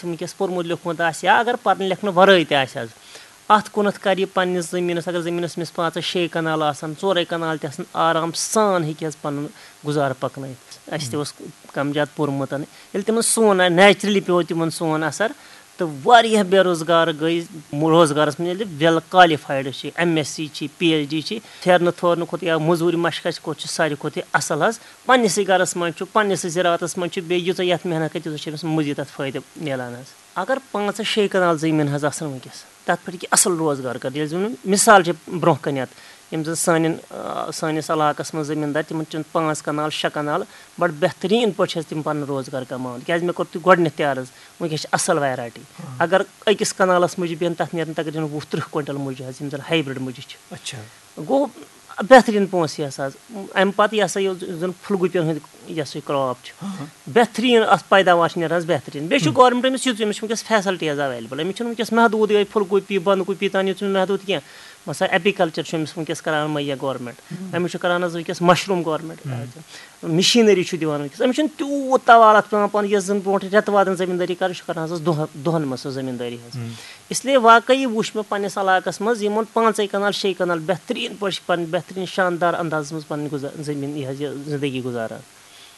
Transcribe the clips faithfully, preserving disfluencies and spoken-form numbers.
وٕنکیٚس پوٚرمُت لیوٚکھمُت آسہِ یا اگر پَرنہٕ لیکھنہٕ وَرٲے تہِ آسہِ حظ، اَتھ کُنَتھ کَرِ یہِ پنٛنِس زٔمیٖنَس، اگر زٔمیٖنَس أمِس پانٛژَے شے کَنال آسَن، ژورَے کَنال تہِ آسَن، آرام سان ہیٚکہِ حظ پَنُن گُزارٕ پَکنٲیِتھ۔ اَسہِ تہِ اوس کَم زیادٕ پوٚرمُت۔ ییٚلہِ تِمَن سون نیچرٔلی پیوٚو تِمَن سون اَثر، تہٕ واریاہ بے روزگار گٔے روزگارَس منٛز، ییٚلہِ ویل کالِفایڈ چھِ، ایم ایس سی چھِ، پی ایچ ڈی چھِ، پھیرنہٕ تھورنہٕ کھۄتہٕ یا مٔزوٗرِ مَشقَس کھۄتہٕ چھُ ساروی کھۄتہٕ یہِ اَصٕل حظ۔ پنٛنِسٕے گَرَس منٛز چھُ، پنٛنِسٕے زِراعتَس منٛز چھُ، بیٚیہِ ییٖژاہ یَتھ محنت کَرِ، تیوٗتاہ چھُ أمِس مٔزیٖد اَتھ فٲیدٕ مِلان حظ۔ اگر پانٛژَن شے کَنال زٔمیٖن حظ آسَن وٕنکیٚس، تَتھ پٮ۪ٹھ ہیٚکہِ اَصٕل روزگار کٔرِتھ۔ ییٚلہِ زَن مِثال چھِ برونٛہہ کَنٮ۪تھ، یِم زَن سانٮ۪ن، آ، سٲنِس علاقَس منٛز زٔمیٖندار، تِمَن چھِنہٕ پانٛژھ کَنال، شےٚ کَنال، بَڑٕ بہتریٖن پٲٹھۍ چھِ حظ تِم پَنُن روزگار کَماوان۔ کیٛازِ مےٚ کوٚر تۄہہِ گۄڈٕنٮ۪تھ تہِ عرض، وٕنکیٚس چھِ اَصٕل ویرایٹی۔ اگر أکِس کَنالَس مُجہِ بیٚہن، تَتھ نیرن تقریٖباً وُہ تٕرٛہ کویِنٹَل مُجہِ حظ، یِم زَن ہایبرِڈ مُجہِ چھِ۔ اچھا۔ گوٚو بہتریٖن پونٛسہٕ یہِ ہسا حظ۔ اَمہِ پَتہٕ یہِ ہسا یہِ زَن پھُل گوٗپیَن ہُنٛد یہِ ہسا یہِ کرٛاپ چھُ، ہاں۔ بہتریٖن اَتھ پیداوار چھِ نیران حظ بہتریٖن۔ بیٚیہِ چھُ گورمٮ۪نٛٹ أمِس یُتھ، أمِس چھِ وٕنکیٚس فیسَلٹی حظ ایویلیبل۔ أمِس چھُنہٕ وٕنکیٚس محدوٗدٕے یوت پھُل گوٗپی، بَنٛد گوٗپی تام یوت چھُنہٕ محدوٗد کینٛہہ۔ مثلاً ایپیکلچر چھُ أمِس وٕنکیٚس کران مُہیا گورمٮ۪نٛٹ، أمِس چھُ کران حظ وٕنکیٚس مَشروٗم گورمٮ۪نٛٹ۔ مِشیٖنٔری چھُ دِوان وٕنکیٚس۔ أمِس چھُنہٕ تیوٗت توال اَتھ پٮ۪وان پَنُن، یۄس زَن برونٛٹھ رٮ۪تہٕ وادَن زٔمیٖندٲری کَران چھُ، کران حظ دۄہ-، دۄہَن منٛز سۄ زٔمیٖندٲری حظ۔ اس لیے واقعی وُچھ مےٚ پنٛنِس علاقَس منٛز یِمَن پانٛژَے کَنال، شے کَنال بہتریٖن پٲٹھۍ چھِ پَنٕنۍ بہتریٖن شاندار اندازَس منٛز پَنٕنۍ گُزا-، زٔمیٖن یہِ حظ یہِ زِندگی گُزاران۔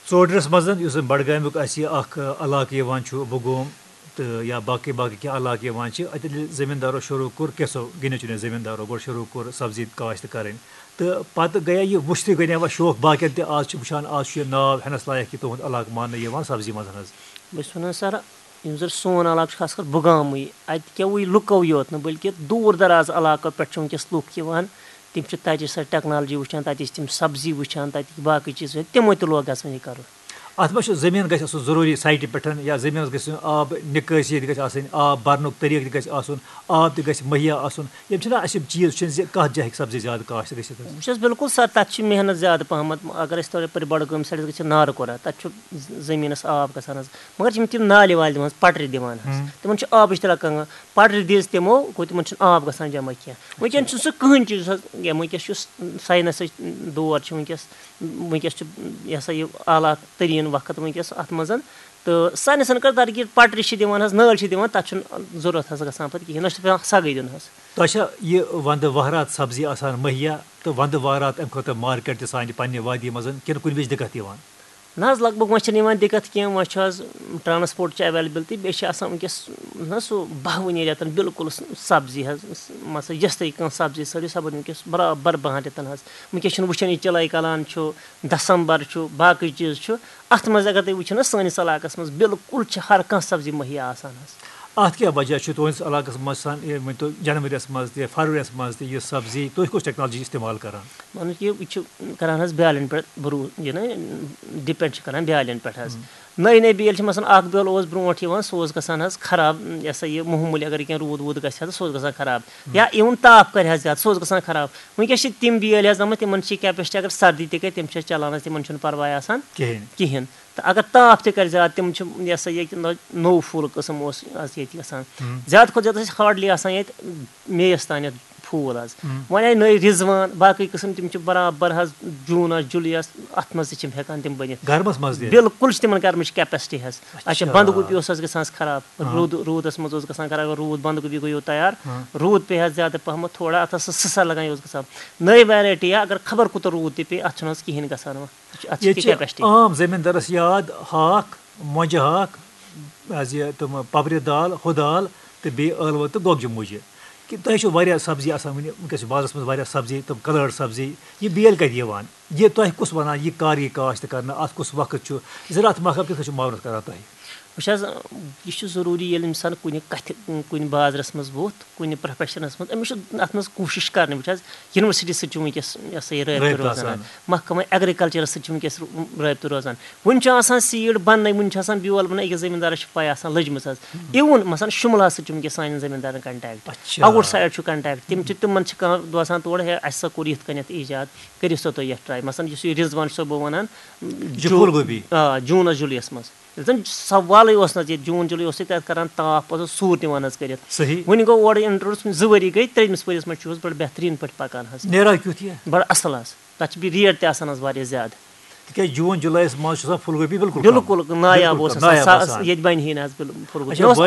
ژوڈرَس منٛز، یُس زَن بڈگامیُک اَسہِ یہِ اَکھ، آ، علاقہٕ یِوان چھُ، بُگوم تہٕ یا باقٕے باقٕے کینٛہہ علاقہٕ یِوان چھِ، اَتہِ ییٚلہِ زٔمیٖندارو شروٗع کوٚر، کینٛژھو گِنٛدو چُنٛدو زٔمیٖندارو گۄڈٕ شروٗع کوٚر سبزی کاشت کَرٕنۍ، تہٕ پَتہٕ گٔیے یہِ وٕچھتٕے گٔے وۄنۍ شوق باقیَن تہِ۔ آز چھِ وٕچھان، آز چھُ یہِ ناو ہٮ۪نَس لایق یہِ تُہُنٛد علاقہٕ ماننہٕ یِوان سبزی منٛز حظ۔ بہٕ چھُس وَنان سَر، یِم زَن سون علاقہٕ چھُ، خاص کر بُگامٕے، اَتہِ کیٛاہ وٕے لُکو یوت نہٕ، بلکہِ دوٗر دراز علاقو پٮ۪ٹھ چھِ وٕنکیٚس لُکھ یِوان۔ تِم چھِ تَتِچ سۄ ٹیکنالوجی وٕچھان، تَتِچ تِم سبزی وٕچھان، تَتِکۍ باقٕے چیٖز وٕچھان، تِمو تہِ لوگ گژھُن یہِ کَرُن۔ اَتھ منٛز چھُ زٔمیٖن گژھِ آسُن ضروٗری سایٹہِ پٮ۪ٹھ، یا زٔمیٖنَس گژھِ نہٕ آب نِکٲسی تہِ گژھِ آسٕنۍ، آب بَرنُک طریٖقہٕ تہِ گژھِ آسُن، آب تہِ گژھِ مُہیا آسُن۔ یِم چھِنہ اَسہِ یِم چیٖز چھِنہٕ زِ کَتھ جایہِ ہیٚکہِ سبزی زیادٕ کاشت گٔژھِتھ حظ؟ وٕچھ حظ، بِلکُل سَر، تَتھ چھِ محنت زیادٕ پَہمَتھ۔ اگر أسۍ تورٕ یَپٲرۍ بڈگٲمۍ سایڈَس گٔژھِتھ نارٕ کورہ، تَتھ چھُ ز-، زٔمیٖنَس آب گژھان حظ۔ مگر چھِ یِم تِم نالہِ والہِ دِوان حظ، پٹرِ دِوان حظ۔ تِمَن چھُ آبٕچ تہِ لَگان، پٹرِ دِژ تِمو، گوٚو تِمَن چھُنہٕ آب گژھان جمع کینٛہہ۔ وٕنکیٚن چھُنہٕ سُہ کٕہٕنۍ چیٖز حظ، یا وٕنکیٚس چھُ ساینَسٕچ دور چھُ وٕنکیٚس، وٕنکیٚس چھُ یہِ ہسا یہِ اعلیٰ تریٖن وقت وٕنکیٚس اَتھ منٛز۔ تہٕ ساینَسَن کٔر ترقی، پٹرِ چھِ دِوان حظ، نٲلۍ چھِ دِوان، تَتھ چھُنہٕ ضوٚرَتھ حظ گژھان پَتہٕ کِہیٖنۍ، نہ چھُ پٮ۪وان سَگٕے دیُن حظ۔ تۄہہِ چھا یہِ وَندٕ وَہرات سبزی آسان مُہیا تہٕ وَندٕ وَہرات اَمہِ خٲطرٕ مارکیٹ تہِ سانہِ پنٛنہِ وادی منٛز کِنہٕ کُنہِ وِزِ دِقت یِوان؟ نہ حظ، لگ بگ وۄنۍ چھَنہٕ یِوان دِقت کینٛہہ، وۄنۍ چھُ حظ ٹرانسپورٹ چھُ ایویلیبل تہٕ بیٚیہِ چھِ آسان وٕنکیٚس نہ سُہ بَہوٕنی رٮ۪تَن بِلکُل سبزی حظ، مان ژٕ یۄس تہِ کانٛہہ سبزی سٲرٕے سۄ بَنہِ وٕنکیٚس برابر بَہَن رٮ۪تَن حظ۔ وٕنکیٚس چھُنہٕ وٕچھان یہِ چِلَے کَلان چھُ، دسمبر چھُ، باقٕے چیٖز چھُ۔ اَتھ منٛز اگر تُہۍ وٕچھِو نہ سٲنِس علاقَس منٛز بِلکُل چھِ ہر کانٛہہ سبزی مُہیا آسان حظ۔ اَتھ کیٛاہ وجہ چھُ تُہٕنٛدِس علاقَس منٛز آسان، یہِ ؤنۍ تو، جنؤریَس منٛز تہِ، فروریَس منٛز تہِ یہِ سبزی، تُہۍ کُس ٹیکنالوجی استعمال کران؟ مطلب کہِ یہِ چھِ کران حظ بیالٮ۪ن پٮ۪ٹھ بروٗ-، یہِ نہ ڈِپٮ۪نٛڈ چھِ کران بیالٮ۪ن پٮ۪ٹھ حظ۔ نٔے نٔے بیٲلۍ چھِ، مثلاً، اَکھ بیول اوس برونٛٹھ یِوان، سُہ اوس گژھان حظ خراب، یہِ ہسا یہِ معموٗلی اگر کینٛہہ روٗد ووٗد گژھِ ہا تہٕ سُہ اوس گژھان خراب۔ یا اِوٕن تاپھ کرِ ہا زیادٕ، سُہ اوس گژھان خراب۔ وٕنکیٚس چھِ تِم بیٲلۍ حظ آمٕتۍ، تِمن چھِ کیپیسٹی، اگر سردی تہِ گٔے، تِم چھِ چلان حظ، تِمن چھُنہٕ پرواے آسان کِہیٖنۍ۔ کِہیٖنۍ۔ تہٕ اگر تاپھ تہِ کرِ زیادٕ، تِم چھِ، یہِ ہسا یہِ، نوٚو پھوٗل قٕسم اوس حظ ییٚتہِ گژھان۔ زیادٕ کھۄتہٕ زیادٕ ٲسۍ ہارڈلی آسان ییٚتہِ مییَس تانٮ۪تھ پھوٗل حظ۔ وۄنۍ آیہِ نٔے رِضوان، باقٕے قٕسم، تِم چھِ برابر حظ جوٗنَس، جُلَیَس، اَتھ منٛز تہِ چھِ یِم ہٮ۪کان تِم بٔنِتھ۔ گرمَس منٛز تہِ؟ بِلکُل چھِ تِمن گرمٕچ کیپیسٹی حظ۔ اچھا، اچھا۔ بَنٛدگوٗپی اوس حظ گژھان خراب، روٗد، روٗدَس منٛز اوس گژھان خراب، روٗد بَنٛدگوٗپی گوٚو تیار، روٗد پیٚیہِ حظ زیادٕ پَہمَتھ تھوڑا، اَتھ ٲس سٕسَر لَگان، یہِ اوس گژھان۔ نٔے ویرایٹی یا اگر خبر کوٗتاہ روٗد تہِ پیٚیہِ، اَتھ چھُنہٕ حظ کِہیٖنۍ گژھان وۄنۍ۔ اَتھ چھِ ییٚتہِ چھِ کیپیسٹی۔ عام زٔمیٖندارَس یاد ہاکھ، مۄنجہِ ہاکھ، حظ یہِ تِم پَپرِ دال، ہُہ دال تہٕ بیٚیہِ ٲلوٕ تہٕ گۄگجہِ مُجہِ۔ کہِ تۄہہِ چھو واریاہ سبزی آسان وٕنہِ، وٕنکیٚس چھِ بازرَس منٛز واریاہ سبزی، تِم کَلٲڈ سبزی۔ یہِ بیل کَتہِ یِوان؟ یہِ تۄہہِ کُس وَنان، یہِ کَر یی کاشت کَرنہٕ، اَتھ کُس وقت چھُ؟ زِراعت محکمہٕ کِتھ کٔنۍ چھُ معاونت کَران تۄہہِ؟ وٕچھ حظ، یہِ چھُ ضروٗری ییٚلہِ اِنسان کُنہِ کَتھِ، کُنہِ بازرَس منٛز ووٚتھ، کُنہِ پروفیشنَس منٛز، أمِس چھُ اَتھ منٛز کوٗشِش کَرٕنۍ۔ وٕچھ حظ، یونیورسٹی سۭتۍ چھُ وٕنکیٚس، یہِ ہسا یہِ، رٲبطہٕ رٲبطہٕ روزان۔ آسان۔ محکمہٕ ایگریکلچرَس سۭتۍ چھُ وٕنکیٚس رٲبطہٕ روزان۔ وٕنہِ چھُ آسان سیٖڈ بَننَے، وٕنہِ چھُ آسان بیول بَننَے، أکِس زٔمیٖندارَس چھِ پَے آسان لٔجمٕژ حظ۔ اِوٕن مثلاً شُملاہَس سۭتۍ چھُ وٕنکیٚس سانٮ۪ن زٔمیٖندارَن کَنٹیکٹ۔ اچھا۔ آوُٹ سایڈ چھُ کَنٹیکٹ، تِم چھِ، تِمَن چھِ کانٛہہ دوسان تورٕ، ہے، اَسہِ سا کوٚر یِتھ کٔنٮ۪تھ ایجاد، کٔرِو سا تُہۍ یَتھ ٹراے۔ مثلاً یُس یہِ رِضوان صٲب بہٕ وَنان، یہِ جو-، پھول گوبی۔ آ، جوٗنَس جُلَیَس منٛز۔ ییٚلہِ زَن سوالٕے اوس نہٕ حظ، ییٚتہِ جوٗن جُلَے اوس ییٚتہِ اَتھ کَران تاپھ، پَتہٕ اوس سوٗر تہِ وَنان حظ کٔرِتھ۔ صحیح۔ وٕنہِ گوٚو اورٕ اِنٹروڈیوٗس زٕ ؤری گٔے، ترٛیٚیمِس ؤریَس منٛز چھُ حظ بَڑٕ بہتریٖن پٲٹھۍ پَکان حظ۔ نیران کیُتھ یہِ؟ بَڑٕ اَصٕل حظ۔ تَتھ چھِ بیٚیہِ ریٹ تہِ آسان حظ واریاہ زیادٕ۔ تِکیٛازِ جوٗن جُلایَس منٛز چھُ آسان پھُل گوٗپی بِلکُل کَم۔ بِلکُل نایاب بِلکُل اوس کَم، آسان، نایاب سا-، آسان۔ ییٚتہِ بَنہِ ہے نہٕ حظ بِل-، پھُل گوٗپی۔ اچھا، مےٚ اوس بَنہِ